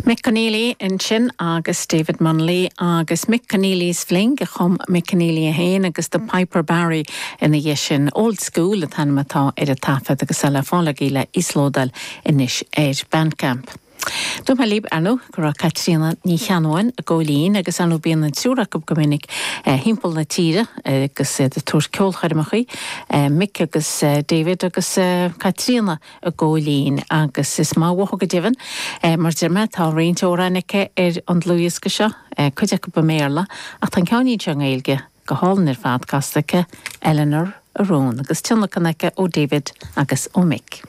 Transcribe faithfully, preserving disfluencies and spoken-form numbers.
Mick Conneely ansin agus David Munnelly agus Mick Conneely's Fling a chum Mick Conneely é féin agus The Piper Barry ina dhiaidh sin Old School an t-ainm atá ar an taifead agus le fáil le íoslódáil anois ar Bandcamp. Dúirt mé libh ar ndóigh go raibh Caitríona Ní Cheannabháin i gCóilín agus anú bíonn an triúr acu go minic timpeall na tíre agus iad ag tabhairt ceolchoirmeacha Mick agus David agus Caitríona i gCóilín agus is maith uathu go deimhin mar deir mé tá roinnt amhrán aici ar an dlúthdhiosca seo cuid acu i mBéarla ach tá ceann seo i nGaeilge go hálainn ar fad casta aici Eleanor a Rún agus tionlacan aici ó David agus ó Mick.